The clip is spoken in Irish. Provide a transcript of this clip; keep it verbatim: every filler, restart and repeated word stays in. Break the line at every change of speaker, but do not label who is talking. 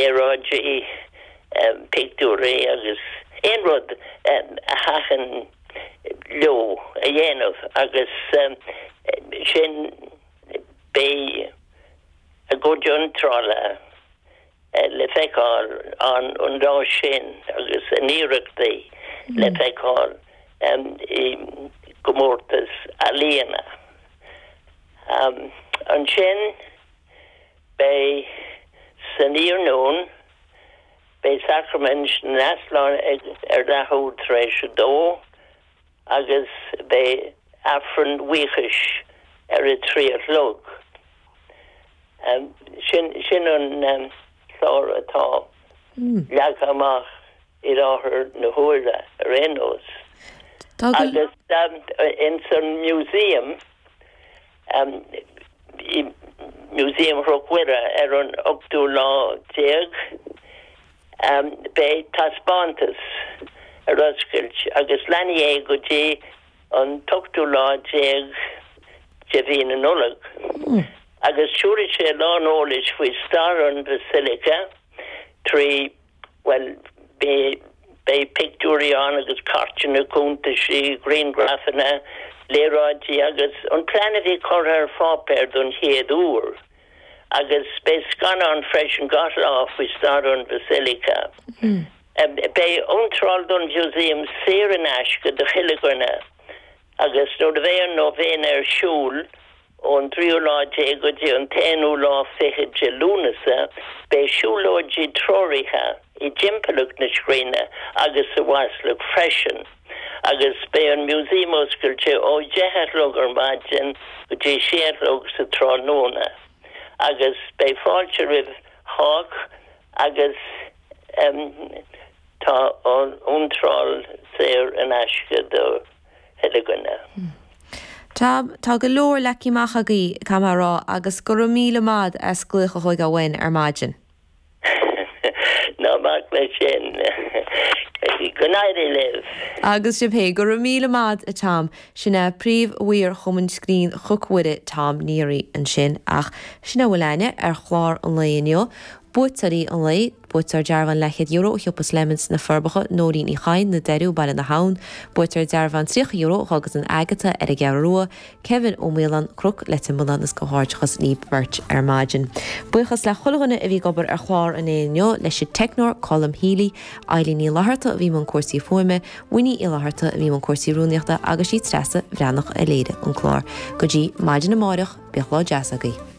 Léaráidí, pictiúirí agus aon rud a thaitin leo a dhéanamh agus sin beidh a gcuid iontrála le feiceáil an an lá sin agus a n-iarrachtaí le feiceáil i gcomórtas ealaíona. Ansin beidh san iarnóin, beidh Sacraimint na nEaslán ar leathuair tar éis a dó agus beidh Aifreann buíochais ar a trí a chlog. Sin sin an clár atá leagtha amach i láthair na huaire ar aon nós. Agus ins an Museum, i Músaem Chnoc Mhuire ar an ochtú lá déag, beidh taispeántas ar oscailt agus leanfaidh é go dtí an t-ochtú lá déag de mhí na Nollag. Agus tabharfaidh sé a lán eolais faoi stair an Bhasilica trí, bhuel, beidh pictiúirí ann agus cairteanna cuntaisí, grianghrafanna, léaráidí agus an plean a bhí curtha ar pháipéar don chéad uair. Agus beidh scannán freisin gach lá faoi stair an Bhasilica. Beidh iontráil don mhúsaem saor in aisce do chuile dhuine agus nuair a bheidh an nóibhéine ar siúl, Ón tríú lá déag go dtí an t-aonú lá fichead de Lúnasa, beidh siúlóidí treoraithe i dtimpeallacht na scríne agus sa Bhaisleac freisin, agus beidh an Músaem oscailte ó deich a chlog ar maidin go dtí sé a chlog sa tráthnóna, agus beidh fáilte roimh chách agus tá an iontráil saor in aisce do chuile dhuine.
Tom, tá go leor leagtha amach agaibh, caithfidh mé a rá, agus go raibh míle maith as glaoch a thógáil uainn ar maidin.
Ná bac leis sin. Go n-éirí libh.
Agus sibh féin. Go raibh míle maith, a Tom. Sin é Príomh-Mhaor Chumann Scrín Chnoc Mhuire, Tom Neary, ansin. Ach sin é a bhfuil againne ar chlár an lae inniu. Buaiteoirí an lae, Buaiteoir dearbhán leathchéad euro ó shiopa Slemons sna Forbacha, Nóirín Uí Chadhain, Na Doirí, Baile na hAbhann. Buaiteoir dearbhán tríocha euro ó Dhóghan Agatha ar an gCeathrú Rua, Kevin Ó Maoláin, Cnoc Leitir Mealláin agus comhghairdeachas libh beirt ar maidin. Buíochas le chuile dhuine a bhí ag obair ar chlár an lae inniu, leis an teicneoir Colm Healy, Eilín Ní Fhlatharta a bhí i mbun cúrsaí fuaime, Winnie Uí Fhlatharta a bhí i mbun cúrsaí rúnaíochta agus sí Treasa Bhreathnach a léirigh an clár. Go dtí maidin amáireach, bíodh lá deas agaibh.